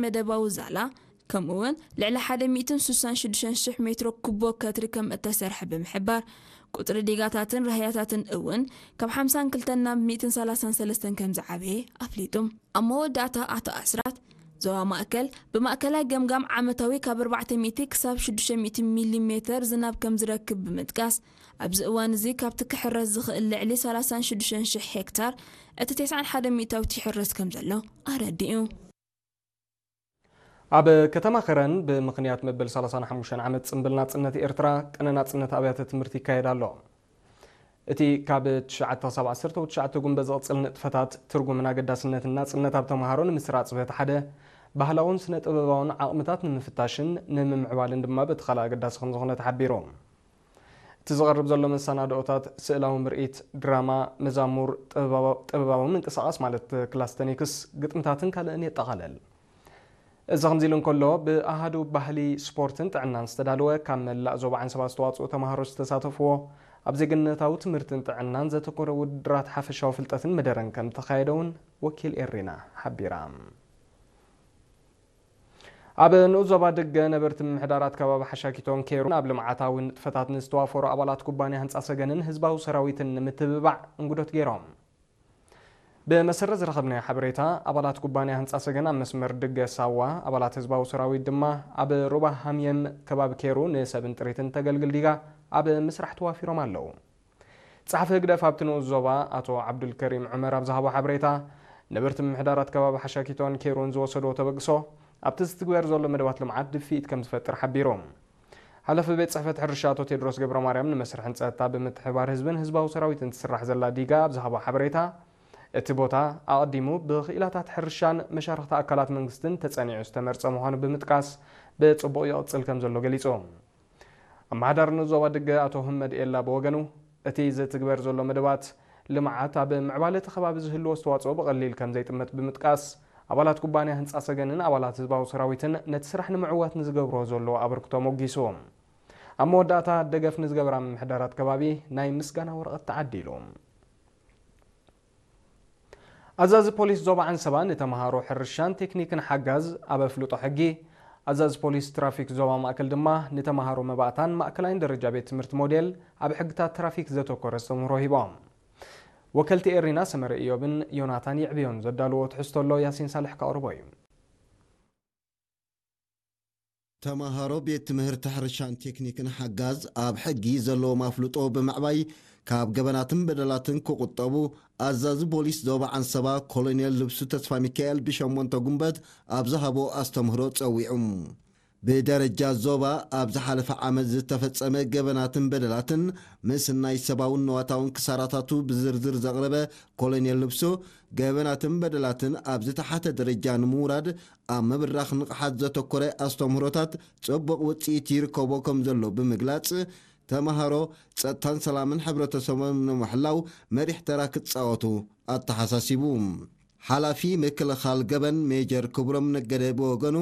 መደባዊ ዛላ፣ ከምኡ እውን ልዕሊ ሓደ ሚእትን ስሳን ሽዱሽተን ሽሕ ሜትሮ ኩቦ ከትሪ ከም እተሰርሐ ብምሕባር፣ ቁጽሪ ዲጋታትን ራህያታትን እውን ካብ ሓምሳን ክልተን ናብ ሚእትን ሰላሳን ሰለስተን ከም ዝዓበየ ኣፍሊጡ። ኣብ መወዳእታ ኣቶ ኣስራት፣ ዞባ ማእከል ብማእከላይ ገምጋም ዓመታዊ ካብ ኣርባዕተ ሚእቲ ክሳብ ሽዱሽተ ሚእቲ ሚሊ ሜተር ዝናብ ከም ዝረክብ ብምጥቃስ፣ ኣብዚ እዋን እዚ ካብቲ ክሕረስ ዝኽእል ልዕሊ ሰላሳን ሽዱሽተን ሽሕ ሄክታር፣ እቲ ተስዓን ሓደ ሚእታዊት ይሕረስ ከም ዘሎ ኣረዲኡ። ኣብ ከተማ ከረን ብምኽንያት መበል ሰላሳን ሓሙሽተን ዓመት ጽምብል ናጽነት ኤርትራ፣ ቅነ ናጽነት ኣብያተ ትምህርቲ ይካየድ ኣሎ። እቲ ካብ ትሽዓተ ክሳብ ዓሰርተ ትሽዓተ ጉንበት ዝቕጽል ንጥፈታት፣ ትርጉምን ኣገዳስነትን ናጽነት ኣብ ተመሃሮ ንምስራጽ በቲ ሓደ፣ ባህላውን ስነ ጥበባውን ዓቕምታት ንምፍታሽን ንምምዕባልን ድማ በቲ ካልእ ኣገዳሲ ከም ዝኾነ ተሓቢሩ። እቲ ዝቐርብ ዘሎ መሰናድኦታት ስእላዊ ምርኢት፣ ድራማ፣ መዛሙር፣ ጥበባዊ ጥበባዊ ምንቅስቓስ ማለት ክላስተኒክስ፣ ግጥምታትን ካልእን የጠቓልል። እዚ ከምዚ ኢሉ እንከሎ፣ ብኣሃዱ ባህሊ፣ ስፖርትን ጥዕናን ዝተዳለወ፣ ካብ መላእ ዞባ ዓንሰባ ዝተዋጽኡ ተመሃሮ ዝተሳተፍዎ፣ ኣብ ዜግነታዊ ትምህርትን ጥዕናን ዘተኮረ ውድድራት ሓፈሻዊ ፍልጠትን መደረን ከም ተኻየደ እውን ወኪል ኤሪና ሓቢራ። ኣብ ንኡስ ዞባ ድገ ነበርቲ ምምሕዳራት ከባቢ ሓሻኪቶን ኬሩን ኣብ ልምዓታዊ ንጥፈታት ንዝተዋፈሩ ኣባላት ኩባንያ ህንጻ ሰገንን ህዝባዊ ሰራዊትን ንምትብባዕ እንግዶት ገይሮም። ብመሰረት ዝረኸብናዮ ሓበሬታ፣ ኣባላት ኩባንያ ህንጻ ሰገን ኣብ መስመር ድገ ሳዋ፣ ኣባላት ህዝባዊ ሰራዊት ድማ ኣብ ሩባ ሃምየም ከባቢ ኬሩ ንሰብን ጥሪትን ተገልግል ዲጋ ኣብ ምስራሕ ተዋፊሮም ኣለዉ። ጸሓፊ ህግደፍ ኣብቲ ንኡስ ዞባ ኣቶ ዓብዱልከሪም ዑመር ኣብ ዝሃቦ ሓበሬታ፣ ነበርቲ ምምሕዳራት ከባቢ ሓሻኪቶን ኬሩን ዝወሰድዎ ተበግሶ ኣብቲ ዝትግበር ዘሎ መደባት ልምዓት ድፍኢት ከም ዝፈጥር ሓቢሩ። ሓላፊ ቤት ጽሕፈት ሕርሻ ኣቶ ቴድሮስ ገብረማርያም ንመስርሕን ጸጥታ ብምትሕብባር ህዝብን ህዝባዊ ሰራዊትን ትስራሕ ዘላ ዲጋ ኣብ ዝሃቦ ሓበሬታ፣ እቲ ቦታ ኣቐዲሙ ብክኢላታት ሕርሻን መሻርኽቲ ኣካላት መንግስትን ተጸኒዑ ዝተመርጸ ምዃኑ ብምጥቃስ፣ ብጽቡቕ ይቕጽል ከም ዘሎ ገሊጹ። ኣመሓዳሪ ንኡስ ዞባ ድገ ኣቶ ህመድ ኤላ ብወገኑ፣ እቲ ዝትግበር ዘሎ መደባት ልምዓት ኣብ ምዕባለ እቲ ከባቢ ዝህልዎ ኣስተዋጽኦ ብቐሊል ከም ዘይጥመት ብምጥቃስ፣ ኣባላት ኩባንያ ህንጻ ሰገንን ኣባላት ህዝባዊ ሰራዊትን ነቲ ስራሕ ንምዕዋት ንዝገብርዎ ዘለዉ ኣበርክቶ ሞጊሱ። ኣብ መወዳእታ፣ ደገፍ ንዝገብራ ምምሕዳራት ከባቢ ናይ ምስጋና ወረቐት ተዓዲሉ። ኣዛዚ ፖሊስ ዞባ ዓንሰባ ንተምሃሮ ሕርሻን ቴክኒክን ሓጋዝ ኣብ ኣፍልጦ ሕጊ፣ ኣዛዚ ፖሊስ ትራፊክ ዞባ ማእከል ድማ ንተምሃሮ መባእታን ማእከላይን ደረጃ ቤት ትምህርቲ ሞዴል ኣብ ሕግታት ትራፊክ ዘተኮረ ኣስተምህሮ ሂቦም። ወከልቲ ኤሪና ሰመረ ኢዮብን ዮናታን ይዕብዮን ዘዳልዎ ትሕዝቶ ኣሎ፣ ያሲን ሳልሕ ከቕርቦ እዩ። ተምሃሮ ቤት ትምህርቲ ሕርሻን ቴክኒክን ሓጋዝ ኣብ ሕጊ ዘለዎም ኣፍልጦ ብምዕባይ ካብ ገበናትን በደላትን ክቑጠቡ ኣዛዚ ፖሊስ ዞባ ዓንሰባ ኮሎኔል ልብሱ ተስፋ ሚካኤል ብሸሞንተ ጉንበት ኣብ ዝሃቦ ኣስተምህሮ ጸዊዑ። ብደረጃ ዞባ ኣብ ዝሓለፈ ዓመት ዝተፈጸመ ገበናትን በደላትን ምስናይ ሰብኣውን ንዋታውን ክሳራታቱ ብዝርዝር ዘቕረበ ኮሎኔል ልብሱ፣ ገበናትን በደላትን ኣብ ዝተሓተ ደረጃ ንምውራድ ኣብ ምብራኽ ንቕሓት ዘተኮረ ኣስተምህሮታት ጽቡቕ ውጽኢት ይርከቦ ከም ዘሎ ብምግላጽ፣ ተምሃሮ ጸጥታን ሰላምን ሕብረተሰቦም ንምሕላው መሪሕ ተራ ክጻወቱ ኣተሓሳሲቡ። ሓላፊ ምክልኻል ገበን ሜጀር ክብሮም ነገደ ብወገኑ፣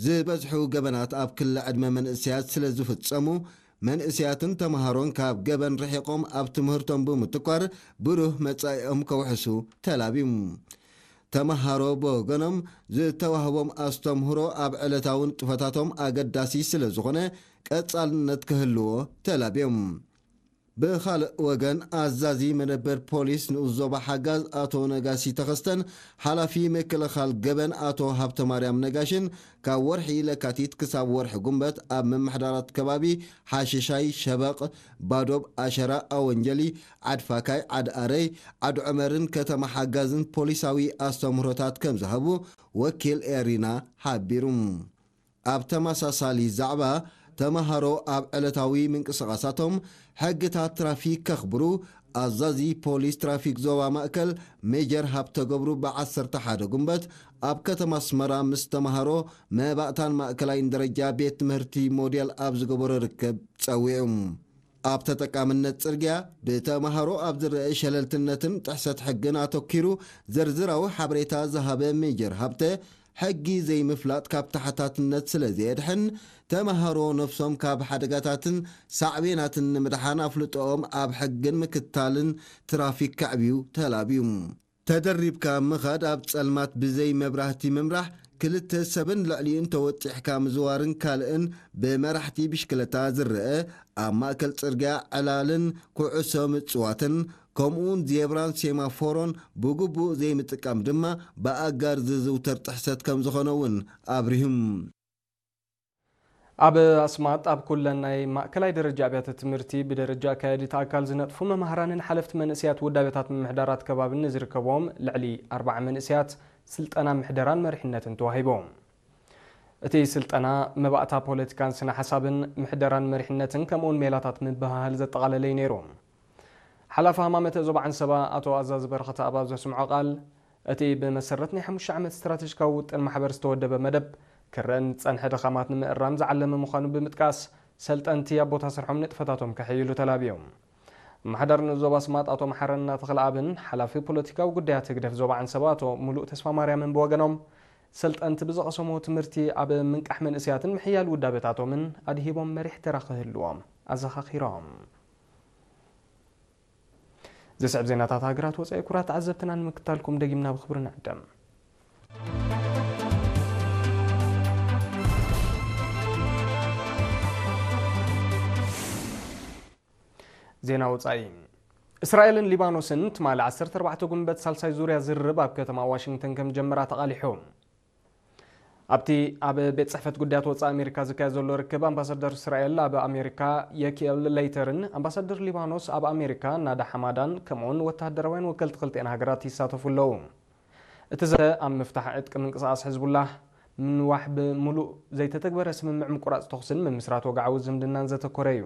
ዝበዝሑ ገበናት ኣብ ክሊ ዕድመ መንእሰያት ስለ ዝፍጸሙ፣ መንእሰያትን ተምሃሮን ካብ ገበን ርሒቖም ኣብ ትምህርቶም ብምትኳር ብሩህ መጻኢኦም ከውሕሱ ተላብዩ። ተምሃሮ ብወገኖም፣ ዝተዋህቦም ኣስተምህሮ ኣብ ዕለታዊ ንጥፈታቶም ኣገዳሲ ስለ ዝኾነ ቀጻልነት ክህልዎ ተላብዮም። ብኻልእ ወገን፣ ኣዛዚ መደበር ፖሊስ ንኡስ ዞባ ሓጋዝ ኣቶ ነጋሲ ተኸስተን ሓላፊ ምክልኻል ገበን ኣቶ ሃብተማርያም ነጋሽን ካብ ወርሒ ለካቲት ክሳብ ወርሒ ጉንበት ኣብ ምምሕዳራት ከባቢ ሓሽሻይ፣ ሸበቕ፣ ባዶብ፣ ኣሸራ፣ ኣወንጀሊ፣ ዓድፋካይ፣ ዓድኣረይ፣ ዓድዑመርን ከተማ ሓጋዝን ፖሊሳዊ ኣስተምህሮታት ከም ዝሃቡ ወኪል ኤሪና ሓቢሩ። ኣብ ተመሳሳሊ ዛዕባ፣ ተመሃሮ ኣብ ዕለታዊ ምንቅስቓሳቶም ሕግታት ትራፊክ ከኽብሩ ኣዛዚ ፖሊስ ትራፊክ ዞባ ማእከል ሜጀር ሃብተገብሩ ብዓሰርተ ሓደ ጉንበት ኣብ ከተማ ኣስመራ ምስ ተመሃሮ መባእታን ማእከላይን ደረጃ ቤት ትምህርቲ ሞዴል ኣብ ዝገበሮ ርክብ ጸዊዑ። ኣብ ተጠቃምነት ጽርግያ ብተመሃሮ ኣብ ዝረአ ሸለልትነትን ጥሕሰት ሕግን ኣተኲሩ ዝርዝራዊ ሓበሬታ ዝሃበ ሜጀር ሃብተ፣ ሕጊ ዘይምፍላጥ ካብ ተሓታትነት ስለ ዘየድሕን፣ ተመሃሮ ነፍሶም ካብ ሓደጋታትን ሳዕቤናትን ንምድሓን ኣፍልጦኦም ኣብ ሕግን ምክትታልን ትራፊክ ከዕብዩ ተላብዩ። ተደሪብካ ምኻድ፣ ኣብ ጸልማት ብዘይ መብራህቲ ምምራሕ፣ ክልተ ሰብን ልዕሊኡን ተወጢሕካ ምዝዋርን ካልእን ብመራሕቲ ብሽክለታ ዝረአ ኣብ ማእከል ጽርግያ ዕላልን ኩዕሶ ምጽዋትን ከምኡውን ዜብራን ሴማፎሮን ብግቡእ ዘይምጥቃም ድማ ብኣጋር ዝዝውተር ጥሕሰት ከም ዝኾነ እውን ኣብሪሁም። ኣብ ኣስማጥ ኣብ ኩለን ናይ ማእከላይ ደረጃ ኣብያተ ትምህርቲ ብደረጃ ኣካያዲት ኣካል ዝነጥፉ መማህራንን ሓለፍቲ መንእሰያት ውዳቤታት ምምሕዳራት ከባብን ንዝርከቦም ልዕሊ ኣርባዓ መንእሰያት ስልጠና ምሕደራን መሪሕነትን ተዋሂቦም። እቲ ስልጠና መባእታ ፖለቲካን ስነ ሓሳብን ምሕደራን መሪሕነትን ከምኡውን ሜላታት ምብህሃል ዘጠቓለለ እዩ ነይሩ። ሓላፊ ሃማመተ ዞባ ዓንሰባ ኣቶ ኣዛዚ በረኸተ ኣብ ዘስምዖ ቃል፣ እቲ ብመሰረት ናይ ሓሙሽተ ዓመት ስትራተጂካዊ ውጥን ማሕበር ዝተወደበ መደብ ክረአን ዝጸንሐ ድኻማት ንምእራም ዝዓለመ ምዃኑ ብምጥቃስ፣ ሰልጠንቲ ኣብ ቦታ ስርሖም ንጥፈታቶም ከሐይሉ ተላብዮም። ኣመሓዳሪ ንዞባ ኣስማጥ ኣቶ መሓረና ተኽለኣብን ሓላፊ ፖለቲካዊ ጉዳያት ህግደፍ ዞባ ዓንሰባ ኣቶ ሙሉእ ተስፋ ማርያምን ብወገኖም፣ ሰልጠንቲ ብዝቐሰሞ ትምህርቲ ኣብ ምንቃሕ መንእሰያትን ምሕያል ውዳበታቶምን ኣድሂቦም መሪሕ ተራ ክህልዎም ኣዘኻኺሮም። ዝስዕብ ዜናታት ሃገራት ወጻኢ ክቡራት ተዓዘብትና ንምክታልኩም ደጊምና ብኽብሪ ንዕደም። ዜና ወጻኢ። እስራኤልን ሊባኖስን ትማሊ ዓሰርተ ኣርባዕተ ጉንበት ሳልሳይ ዙርያ ዝርርብ ኣብ ከተማ ዋሽንግተን ከም ጀመራ ተቓሊሑ። ኣብቲ ኣብ ቤት ጽሕፈት ጉዳያት ወጻኢ ኣሜሪካ ዝካየድ ዘሎ ርክብ፣ ኣምባሳደር እስራኤል ኣብ ኣሜሪካ የኪኤል ሌይተርን ኣምባሳደር ሊባኖስ ኣብ ኣሜሪካ ናዳ ሓማዳን ከምኡውን ወተሃደራውያን ወከልቲ ክልቲኤን ሃገራት ይሳተፉ ኣለዉ። እቲ ዘተ ኣብ ምፍታሕ ዕጥቂ ምንቅስቓስ ሕዝቡላህ፣ ምንዋሕ ብምሉእ ዘይተተግበረ ስምምዕ ምቁራጽ ተኹስን ምምስራት ወግዓዊ ዝምድናን ዘተኮረ እዩ።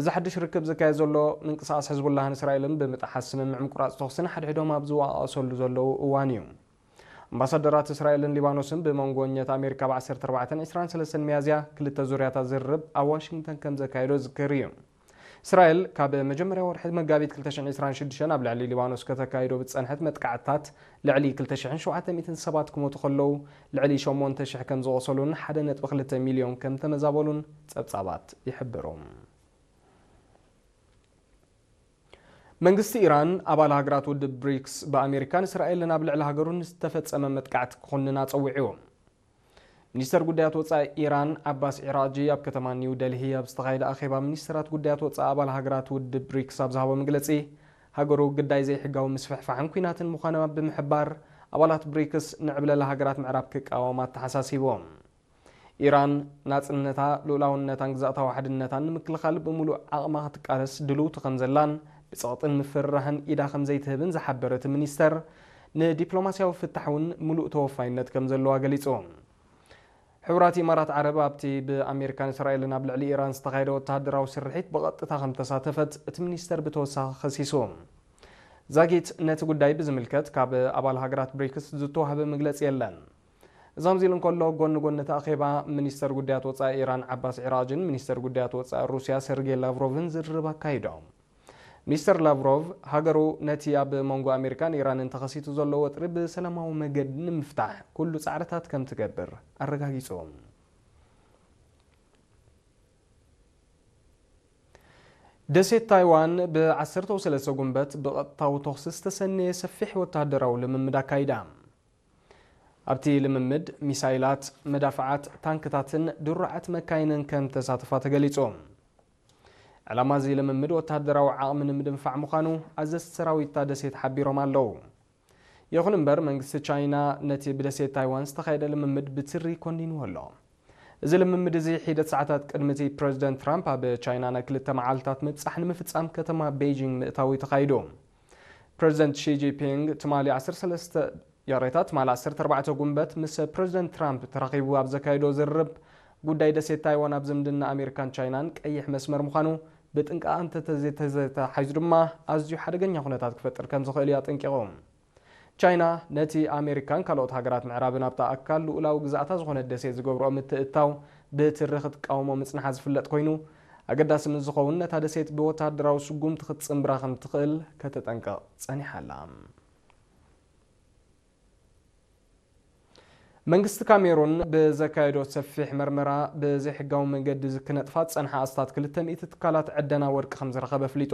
እዚ ሓድሽ ርክብ ዝካየድ ዘሎ ምንቅስቓስ ሕዝቡላህን እስራኤልን ብምጥሓስ ስምምዕ ምቁራጽ ተኹስን ሓድሕዶም ኣብ ዝወቓቐሰሉ ዘለዉ እዋን እዩ። ኣምባሳደራት እስራኤልን ሊባኖስን ብመንጎ ኘት ኣሜሪካ ብ ዓሰርተ ኣርባዕተን ዕስራን ሰለስተን ሚያዝያ ክልተ ዙርያታት ዝርርብ ኣብ ዋሽንግተን ከም ዘካየዶ ዝዝከር እዩ። እስራኤል ካብ መጀመርያ ወርሒ መጋቢት ክልተ ሽሕን ዕስራን ሽዱሽተን ኣብ ልዕሊ ሊባኖስ ከተካይዶ ብዝጸንሐት መጥቃዕትታት ልዕሊ ክልተ ሽሕን ሸውዓተ ሚእትን ሰባት ክሞቱ ከለዉ፣ ልዕሊ ሸሞንተ ሽሕ ከም ዝቖሰሉን ሓደ ነጥቢ ክልተ ሚልዮን ከም ተመዛበሉን ጸብጻባት ይሕብሩ። መንግስቲ ኢራን ኣባል ሃገራት ውድብ ብሪክስ ብኣሜሪካን እስራኤልን ኣብ ልዕሊ ሃገሩ ንዝተፈጸመ መጥቃዕቲ ክኹንን ኣጸዊዑ። ሚኒስተር ጉዳያት ወጻኢ ኢራን ዓባስ ዒራጂ ኣብ ከተማ ኒው ደልሂ ኣብ ዝተኻየደ ኣኼባ ሚኒስተራት ጉዳያት ወጻኢ ኣባል ሃገራት ውድብ ብሪክስ ኣብ ዝሃቦ መግለጺ፣ ሃገሩ ግዳይ ዘይሕጋዊ ምስፍሕፋሕን ኲናትን ምዃና ብምሕባር፣ ኣባላት ብሪክስ ንዕብለላ ሃገራት ምዕራብ ክቃወማ ኣተሓሳሲቦም። ኢራን ናጽነታ፣ ልኡላውነታን ግዝኣታዊ ሓድነታን ንምክልኻል ብምሉእ ዓቕማ ክትቃለስ ድልውቲ ከም ዘላን ብጸቕጥን ምፍርራህን ኢዳ ከም ዘይትህብን ዝሓበረ እቲ ሚኒስተር፣ ንዲፕሎማስያዊ ፍታሕ እውን ምሉእ ተወፋይነት ከም ዘለዋ ገሊጹ። ሕቡራት ኢማራት ዓረብ ኣብቲ ብኣሜሪካን እስራኤልን ኣብ ልዕሊ ኢራን ዝተኻየደ ወተሃደራዊ ስርሒት ብቐጥታ ከም ተሳተፈት እቲ ሚኒስተር ብተወሳኺ ከሲሱ። ዛጊት ነቲ ጉዳይ ብዝምልከት ካብ ኣባል ሃገራት ብሪክስ ዝተዋህበ መግለጺ የለን። እዚ ከምዚ ኢሉ እንከሎ፣ ጎኒ ጎኒ እቲ ኣኼባ፣ ሚኒስተር ጉዳያት ወጻኢ ኢራን ዓባስ ዒራጅን ሚኒስተር ጉዳያት ወጻኢ ሩስያ ሰርጌይ ላቭሮቭን ዝርርብ ኣካይዶም። ሚስተር ላቭሮቭ፣ ሃገሩ ነቲ ኣብ መንጎ ኣሜሪካን ኢራንን ተኸሲቱ ዘሎ ወጥሪ ብሰላማዊ መገዲ ንምፍታሕ ኩሉ ጻዕርታት ከም ትገብር ኣረጋጊጹ። ደሴት ታይዋን ብ ዓሰርተ ሰለስተ ጉንበት ብቐጥታዊ ተኹሲ ዝተሰነየ ሰፊሕ ወተሃደራዊ ልምምድ ኣካይዳ። ኣብቲ ልምምድ፣ ሚሳይላት፣ መዳፍዓት፣ ታንክታትን ድሩዓት መካይንን ከም ተሳተፋ ተገሊጹ። ዕላማ እዚ ልምምድ ወተሃደራዊ ዓቕሚ ንምድንፋዕ ምዃኑ ኣዘዝቲ ሰራዊት እታ ደሴት ሓቢሮም ኣለዉ። ይኹን እምበር፣ መንግስቲ ቻይና ነቲ ብደሴት ታይዋን ዝተኻየደ ልምምድ ብትሪ ኮኒንዎ ኣሎ። እዚ ልምምድ እዚ ሒደት ሰዓታት ቅድሚ እቲ ፕረዚደንት ትራምፕ ኣብ ቻይና ናይ ክልተ መዓልታት ምብጻሕ ንምፍጻም ከተማ ቤይጂንግ ምእታዉ እዩ ተኻይዱ። ፕረዚደንት ሺ ጂንፒንግ ትማሊ ዓሰርተ ሰለስተ፣ ይቕሬታ፣ ትማሊ ዓሰርተ ኣርባዕተ ጉንበት ምስ ፕረዚደንት ትራምፕ ተራኺቡ ኣብ ዘካየዶ ዝርርብ፣ ጉዳይ ደሴት ታይዋን ኣብ ዝምድና ኣሜሪካን ቻይናን ቀይሕ መስመር ምዃኑ፣ ብጥንቃቐ እንተተዘይተተሓሒዙ ድማ ኣዝዩ ሓደገኛ ኩነታት ክፈጥር ከም ዝኽእል እዩ ኣጠንቂቑ። ቻይና ነቲ ኣሜሪካን ካልኦት ሃገራት ምዕራብን ኣብታ ኣካል ልኡላዊ ግዝኣታ ዝኾነት ደሴት ዝገብርኦ ምትእትታው ብትሪ ክትቃወሞ ምጽንሓ ዝፍለጥ ኮይኑ፣ ኣገዳሲ ምስ ዝኸውን ነታ ደሴት ብወተሃደራዊ ስጉምቲ ክትጽንብራ ከም ትኽእል ከተጠንቅቕ ጸኒሓ ኣላ። መንግስቲ ካሜሩን ብዘካየዶ ሰፊሕ መርመራ፣ ብዘይሕጋዊ መንገዲ ክነጥፋ ዝጸንሓ ኣስታት ክልተ ሚእቲ ትካላት ዕደና ወርቂ ከም ዝረኸበ ኣፍሊጡ።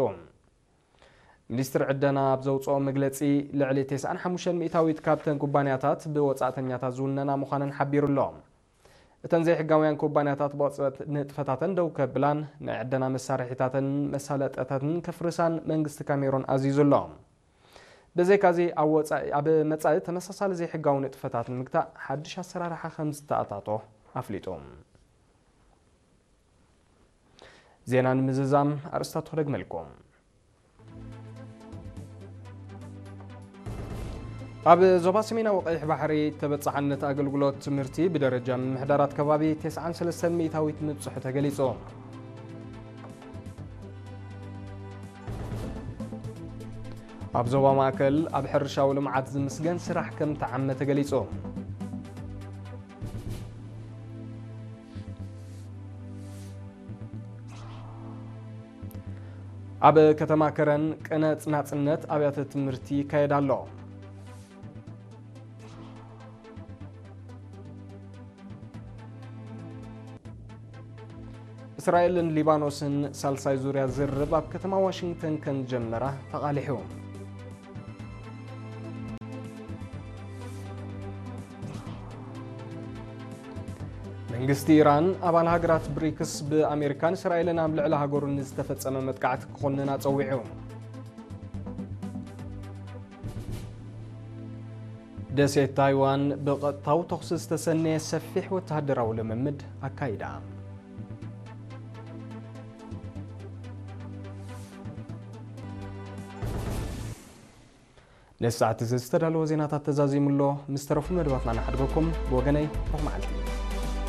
ሚኒስትሪ ዕደና ኣብ ዘውፅኦ መግለፂ፣ ልዕሊ ተስዓን ሓሙሽተን ሚእታዊት ካብተን ኩባንያታት ብወፃእተኛታት ዝውነና ምዃነን ሓቢሩ ኣሎ። እተን ዘይሕጋውያን ኩባንያታት ብቐፅበት ንጥፈታተን ደው ከብላን ናይ ዕደና መሳርሒታትን መሳለጠታትን ከፍርሳን መንግስቲ ካሜሮን ኣዚዙ ኣሎ። ብዘይካዚ ኣብ ወፃኢ፣ ኣብ መፃኢ ተመሳሳሊ ዘይሕጋዊ ንጥፈታት ንምግታእ ሓድሽ ኣሰራርሓ ከም ዝተኣታቶ ኣፍሊጡ። ዜና ንምዝዛም ኣርእስታቱ ክደግመልኩም። ኣብ ዞባ ሰሜናዊ ቀይሕ ባሕሪ ተበጻሕነት ኣገልግሎት ትምህርቲ ብደረጃ ምምሕዳራት ከባቢ ተስዓን ሰለስተን ሚእታዊት ምብጽሑ ተገሊጹ። ኣብ ዞባ ማእከል ኣብ ሕርሻዊ ልምዓት ዝምስገን ስራሕ ከም ተዓመ ተገሊጹ። ኣብ ከተማ ከረን ቅነ ናጽነት ኣብያተ ትምህርቲ ይካየድ ኣሎ። እስራኤልን ሊባኖስን ሳልሳይ ዙርያ ዝርርብ ኣብ ከተማ ዋሽንግተን ከም ጀመራ ተቓሊሑ። መንግስቲ ኢራን ኣባል ሃገራት ብሪክስ ብኣሜሪካን እስራኤልን ኣብ ልዕሊ ሃገሩ ንዝተፈጸመ መጥቃዕቲ ክኾንን ኣጸዊዑ። ደሴት ታይዋን ብቐጥታዊ ተኹሲ ዝተሰነየ ሰፊሕ ወተሃደራዊ ልምምድ ኣካይዳ። ነዚ ሰዓት እዚ ዝተዳለወ ዜናታት ተዛዚሙ ኣሎ። ምስ ተረፉ መደባትና ንሓድገኩም። ብወገነይ ርሑቕ መዓልቲ።